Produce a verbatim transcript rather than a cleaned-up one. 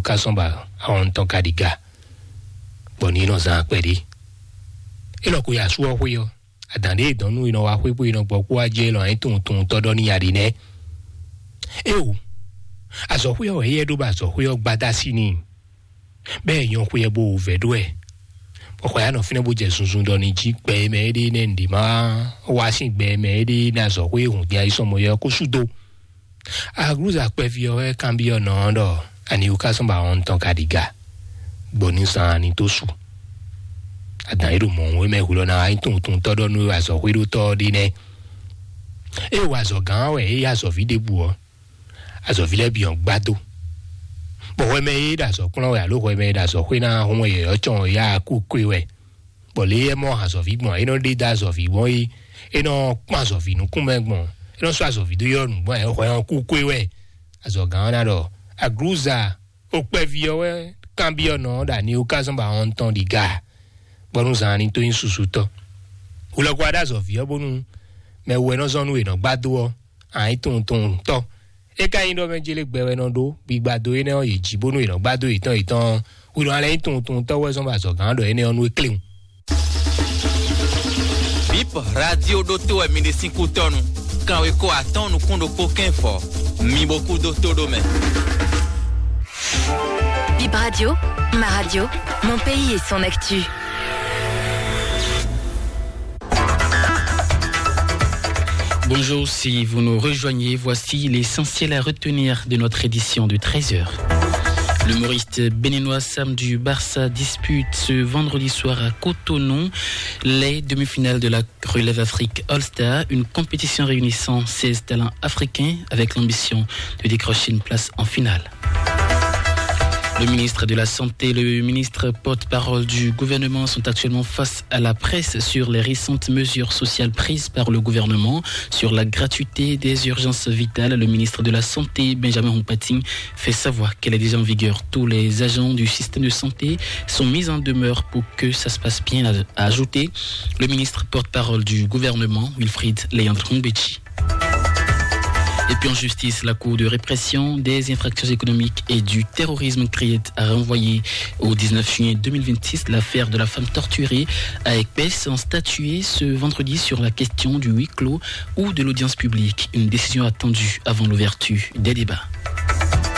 Ká sɔ́n ba ahɔn tɔn ka ɖi ga, bɔ ní nɔ zán akpɛ ɖé. É lɔ ko yi asú ɔ́ xwé ɔ́, adǎn ɖé dɔn nú è nɔ wá xwé bó è nɔ gbɔ kú wá jɛ lɔ anyí tunwun tɔ́ ɖɔ ní nya ɖi nɛ́. Éwo, azɔ̌xwé ɔ́ wɛ éyɛ́ ɖó bɔ azɔ̌xwé ɔ́ gbadá sí n'i, bɔ é nyɔ́ xwé ɔ́ bó wǔvɛ́ ɖó ɛ. Bɔ xɔ ya nɔ fínɛ́ bó jɛ zunzun ɖɔ ní jí gbɛ e mɛ é ɖe nɛ́ nǔɖé má wá sín gbɛ e mɛ é ɖe ní azɔ̌xwé e hǔn dín ayísɔmɔ yɛ ɔ́ kó sú dó. Aglúza kpɛví ɔ́ wɛ kanbyɔ́ nɔ ɔ́ ɖɔ aniwúkásɔ́n ba wɔn tɔn ka ɖi ga, gbɔ ní zan ani tó su. Adǎn e ɖo mɔ̌ wé mɛ hwlɔ́ ná wá nyí tunwuntunwuntɔ́ ɖɔ nú azɔ̌xwéɖótɔ́ ɔ́ ɖe nɛ́. É wa azɔ̌ gán wɛ é yí azɔ̌ví ɖěbǔ ɔ́, azɔ̌ví lɛ́ɛ bǐ ɔ́ gbá dó. Bɔ hwɛ mɛ e ɖo azɔ̌ kplɔ́n wɛ alo hwɛ mɛ e ɖo azɔ̌xwé ná hún wɛ yɔ̌yɔ́ cɔn ɔ́ yá kú kwé wɛ. Bɔ lě e é mɔ azɔ̌ví gbɔn é nɔ ɖe dó azɔ̌ví gbɔn é é nɔ kpɔ́n azɔ̌ví nukún mɛ gbɔn, é nɔ sɔ́ azɔ̌ví dó yɔ́ nǔ gbɔn é hwɛ ɔ́ kú kwé wɛ. Azɔ̌gán ɔ́ ná ɖɔ: "Aglúza, o kpɛví ɔ́ wɛ kanbyɔ́ nɔ ɔ́ ɖo ani ó ká zɔ́n ba ɔn tɔn ɖi ga, bɔ nú zan ní tó nyí susu tɔn. Wulɔkɔ wá ɖo azɔ̌ví ɔ́ bónú mɛ wú ɛ nɔ zɔn nú è nɔ gbá dó ɔ́, ǎ nyí tunwuntunwuntɔ́. É ka nyí ɖɔ mɛ jélé gbɛ wɛ nɔ ɖó gbigba dó énɛ́ ɔ́ yě jí bónú è nɔ gbá dó yětɔn yětɔn ɔ́, hwi nɔ lɛ́ nyí tunwuntunwuntɔ́ wɛ zɔ́n bɔ azɔ̌gán ɖɔ énɛ́ ɔ́ nú é kléwún." Bip radio ɖótó wɛ mi ɖe sín kútɔ́nu. Kanweko atɔ́ɔ́n nukún ɖokpó kɛ́n fɔ, mi bo kú dó tó ɖó mɛ. Bip Radio, ma radio, mon pays et son actu. Bonjour, si vous nous rejoignez, voici l'essentiel à retenir de notre édition de treize heures. L'humoriste béninois Sam du Barça dispute ce vendredi soir à Cotonou les demi-finales de la Relève Afrique All-Star, une compétition réunissant seize talents africains avec l'ambition de décrocher une place en finale. Le ministre de la Santé et le ministre porte-parole du gouvernement sont actuellement face à la presse sur les récentes mesures sociales prises par le gouvernement sur la gratuité des urgences vitales. Le ministre de la Santé, Benjamin Humpati, fait savoir qu'elle est déjà en vigueur. Tous les agents du système de santé sont mis en demeure pour que ça se passe bien, a ajouté le ministre porte-parole du gouvernement, Wilfried Léandre Hombedji. Et puis en justice, la Cour de répression des infractions économiques et du terrorisme, CRIET, a renvoyé au dix-neuf juillet deux mille vingt-six l'affaire de la femme torturée à Aigues-Baisse, sans statuer ce vendredi sur la question du huis clos ou de l'audience publique. Une décision attendue avant l'ouverture des débats.